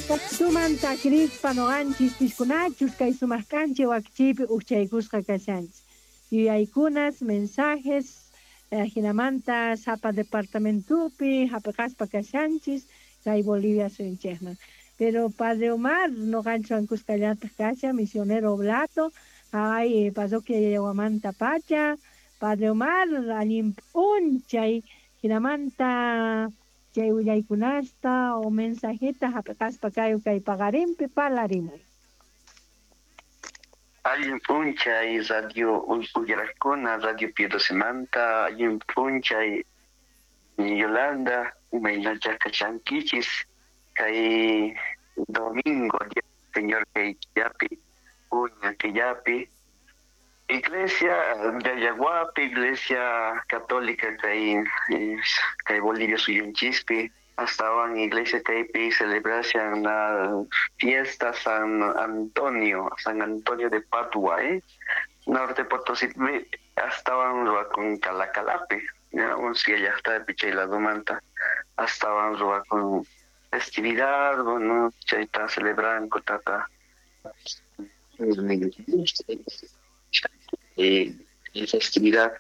Tumanta kirispa noqanchis piskunachus kay sumaq k'anchay wakichiypi ujchaykusqa kashanchis. Yuyaykunas, mensajes, jinamanta sapa departamentopi hap'iqaspa kashanchis kay Bolivia suyunchikman. Pero Padre Omar noqanchis kuskallataj kashan, misionero oblato, ay parroquia Yayahuamanta pacha, Padre Omar allin p'unchay jinamanta chay willaykunasta o mensajeta hap'iqaspa kayu kay paqarinpi parlarimuy. Allin p'unchay radio uyarakuna, Radio Piedosemanta, allin p'unchay Yolanda, imaynacha kashankichis kay domingo, día del Señor kay killapi, uña killapi, Iglesia de Yaguapi, Iglesia Católica kay kay Bolivia suyunchispi, astawan Iglesia kaypi celebración la fiesta San Antonio, San Antonio de Padua, Norte Potosí, astawan ruwakun Calacalapi, ya, unsia llaqtapi chay ladomanta, astawan ruwakun festividad, bueno, chayta celebranku tata. Festividad.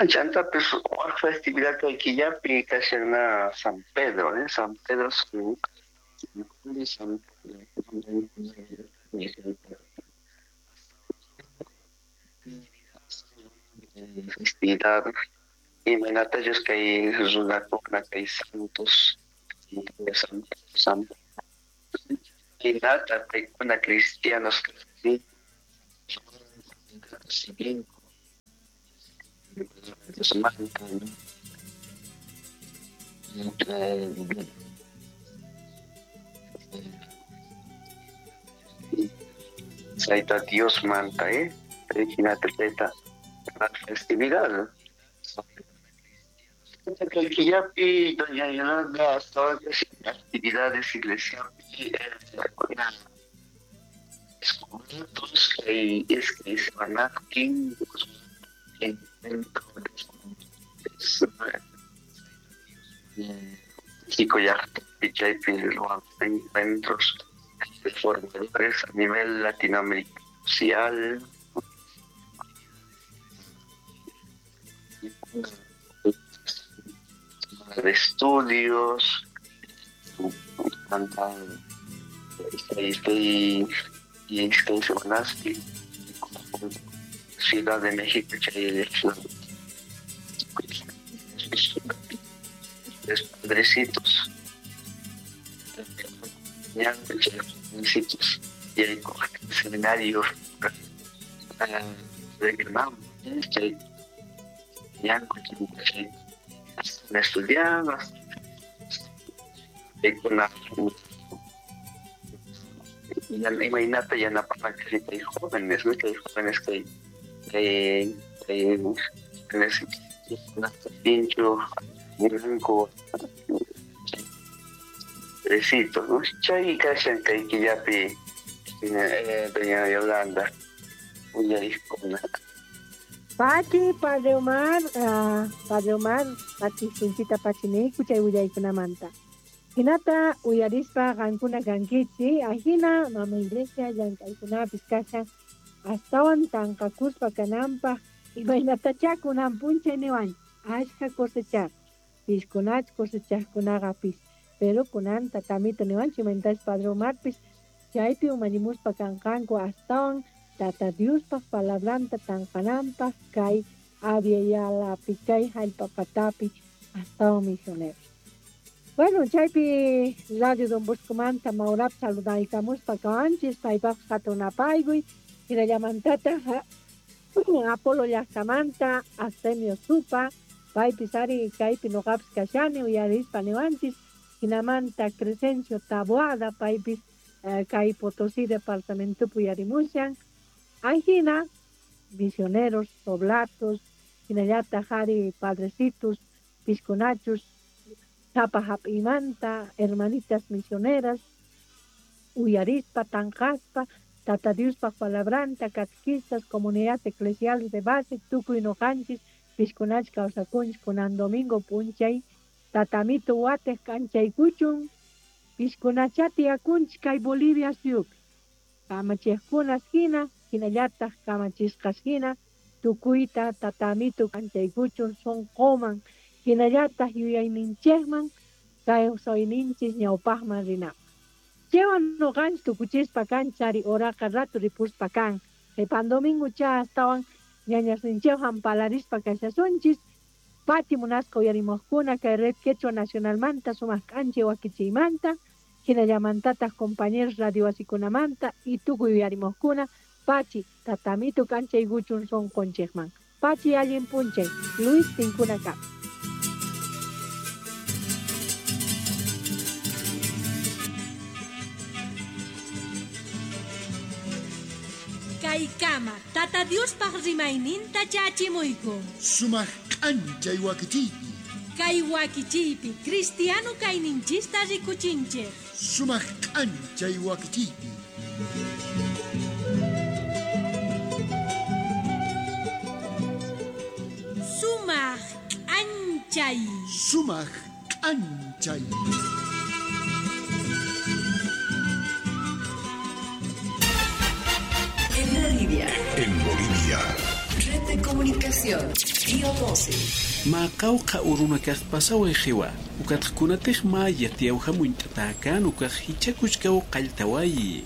Chantapis waj festividad kay killapi kashan na San Pedro, San Pedro San festividad imaynatachus kay runakuna kay santos San San hinata paykuna cristianos Chayta Dios manta, hinata chayta festividad. Killapi doña Yolanda hasta actividades iglesiapi descubrimientos que es que se van a México ya encuentros de formadores a nivel latinoamericano social. De estudios, Ciudad de México, los padrecitos, y el seminario de estudiando, imaynata yanapananchis kay jóvenes, ¿no? Kay jóvenes kay pincho blanco padrecito, ¿no? Chay kashan kay killapi doña Yolanda uyariqkuna. Pachi, Padre Omar, Padre Omar, pachi sinchita pachiniku chay willaykunamanta. Hinata uyarispa qankuna kankichi, ajina mama iglesia llank'aykunapis kashan astawan tanqakuspa kananpaq imaynatachá kunan p'unchay niwanchis ashkha cosechar, piskunach cosechaqkunaqapis, pero kunan tatamito niwanchis imaynatachus Padre Omarpis chaypi umallimuspa kanqanku astawan Tata Diospaq palabranta tanqananpaq kay Abya-Yalapi kay jallp'a patapi astawan misioneros. Bueno, chaypi Radio Don Boscomanta Maurap saludaykamuspa kawanchis paypaq hatun apaykuy hinallamantataq Apolo llaqtamanta Artemio Supa paypis ari kaypi noqapis kashani uyarispa niwanchis hinamanta Crescencio Taboada paypis kay Potosí departamentopi uyarimushan ajina misioneros, oblatos, hinallataq ari padrecitos, piskunachus sapa hap'imanta, hermanitas misioneras, uyarispa, tanqaspa, Tata Diospaq palabranta, catequistas, comunidad eclesial de base, tukuy noqanchis, piskunach kawsakunchis kunan domingo p'unchay, tatamito watej k'anchaykuchun, Piskunachá tiyakunchik kay Bolivia suyupi. Kamachiqkunas hina, hinallataq kamachisqas hina, tukuyta tatamitu k'anchaykuchun sunquman, hinallataq yuyayninchikman, kawsayninchik ñawpaqman rinapaq. Chaywan nuqanchik tukuchispa kanchari horaqa ratu ripuspa kan. Qhipan domingo cha astawan ñañasninchikwan palarispa kashasunchis. Pachi munasqa uyarimuqkuna kay Red Quechua Nacionalmanta sumaq k'anchay wakichiymanta, hinallamantataq compañeros radio wasikunamanta y tukuy uyarimuqkuna pachi tatamitu k'anchaykuchun sunqunchikman. Pachi allin p'unchay, Luis Tinkuna kap. Kaykama Tata Diospaq rimayninta chachimuyku. Sumaq k'anchay wakichiypi. Kay wakichiypi cristiano kayninchista rikuchinchik. Sumaq k'anchay wakichiypi. Sumaq k'anchay. Sumaq k'anchay. En Bolivia. En Bolivia. Red de comunicación. Pío 12. Maqawqa urunakaq pasaway qiwa. Ukatqkunataq maya tiyawhamunt'atakan ukaq hichakuchkaw qalltawayi.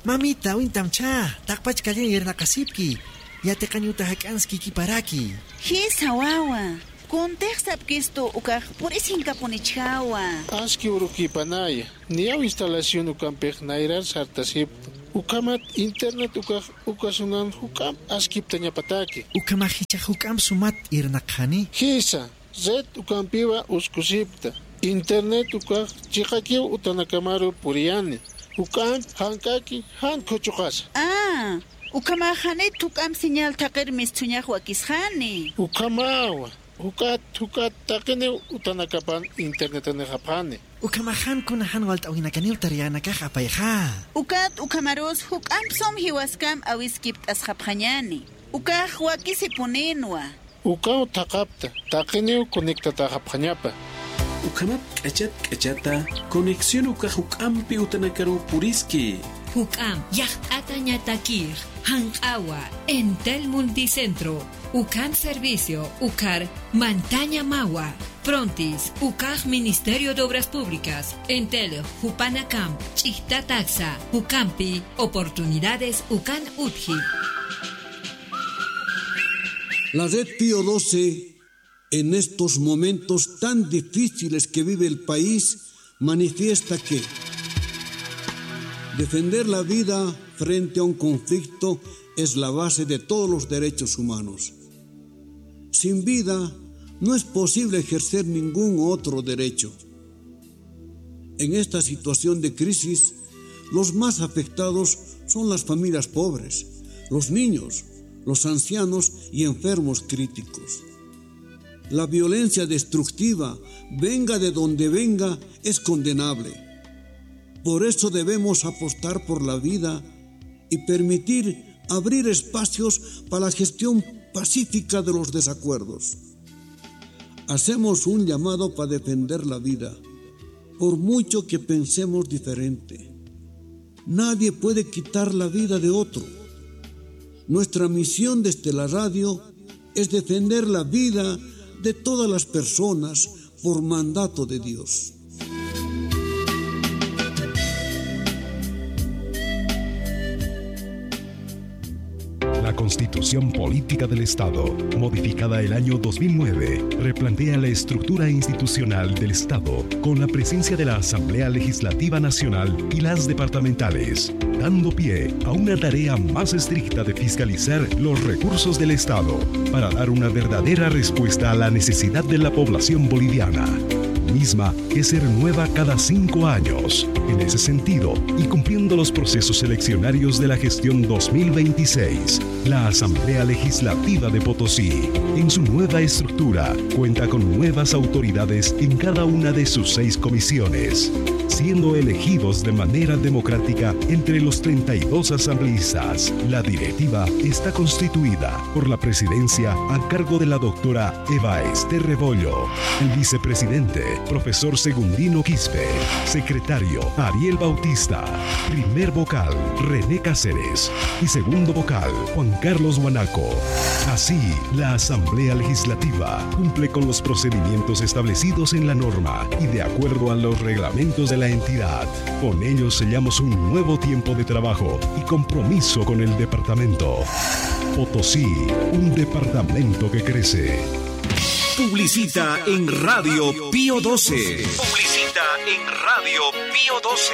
Mamita, wintamcha, taqpachkallan yernaqasipki. Yatiqañuta hak'anski kiparaki. Hisa wawa. Kuntiqsapkistu ukaq purisinkapunichhawa. Aski urukipanaya. Niyaw instalación ukampiq nayrar sartasipta. Ukamat internet ukaq ukasunan hukam askipta ñapataki. Ukama hicha hukam sumat irnaqhani. Hisa, red ukampiwa uskusipta. Internet ukaq chiqakiw utanakamaru puriyani. Hukam hankaki han kuchuqasa. Ah, ukama hanit hukam señal taqirmis thuñaq wakishani. Ukamawa. Hukat hukat taqini utanakapan internet nehapani. Ukamahan kunahan walt'awinakanil tariyanakaj apayja. Ukat ukamarus huk'ampsom hiwaskam awiskipt asqaphañani. Ukaj wakisipuninwa. Ukaw taqapta taqiniw conectataqaphañapa. Ukamat k'achat k'achata conexión ukaj huk'ampi utanakaru puriski. Huk'am yaqt'ata ñatakir hanq'awa Entel Multicentro Ucam Servicio Ucar Mantaña Mawa Frontis Ucaj Ministerio de Obras Públicas Entel Jupanacam Chictataxa Ucampi Oportunidades Ucan Utji. La Red Pío 12 en estos momentos tan difíciles que vive el país manifiesta que defender la vida frente a un conflicto es la base de todos los derechos humanos. Sin vida no es posible ejercer ningún otro derecho. En esta situación de crisis, los más afectados son las familias pobres, los niños, los ancianos y enfermos críticos. La violencia destructiva, venga de donde venga, es condenable. Por eso debemos apostar por la vida y permitir abrir espacios para la gestión pacífica de los desacuerdos. Hacemos un llamado para defender la vida, por mucho que pensemos diferente. Nadie puede quitar la vida de otro. Nuestra misión desde la radio es defender la vida de todas las personas por mandato de Dios. La Constitución Política del Estado, modificada el año 2009, replantea la estructura institucional del Estado con la presencia de la Asamblea Legislativa Nacional y las departamentales, dando pie a una tarea más estricta de fiscalizar los recursos del Estado para dar una verdadera respuesta a la necesidad de la población boliviana, misma que se renueva cada 5 años. En ese sentido, y cumpliendo los procesos eleccionarios de la gestión 2026, la Asamblea Legislativa de Potosí, en su nueva estructura, cuenta con nuevas autoridades en cada una de sus 6 comisiones. siendo elegidos de manera democrática entre los 32 asambleístas. La directiva está constituida por la presidencia a cargo de la doctora Eva Esther Rebollo, el vicepresidente, profesor Segundino Quispe, secretario Ariel Bautista, primer vocal René Cáceres y segundo vocal Juan Carlos Guanaco. Así, la Asamblea Legislativa cumple con los procedimientos establecidos en la norma y de acuerdo a los reglamentos de la entidad. Con ello sellamos un nuevo tiempo de trabajo y compromiso con el departamento. Potosí, un departamento que crece. Publicita en Radio Pío 12. Publicita en Radio Pío 12.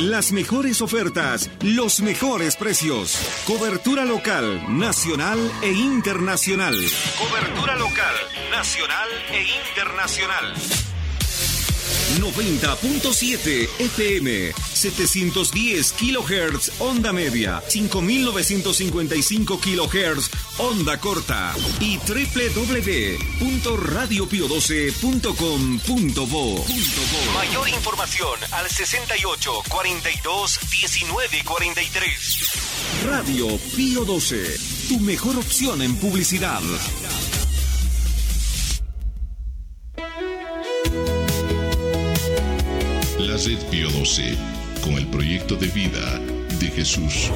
Las mejores ofertas, los mejores precios. Cobertura local, nacional e internacional. Cobertura local, nacional e internacional. 90.7 FM, 710 kHz onda media, 5955 kHz onda corta y www.radiopio12.com.bo. Mayor información al 68 42 19 43. Radio Pío 12, tu mejor opción en publicidad. La Red Pío 12, con el proyecto de vida de Jesús.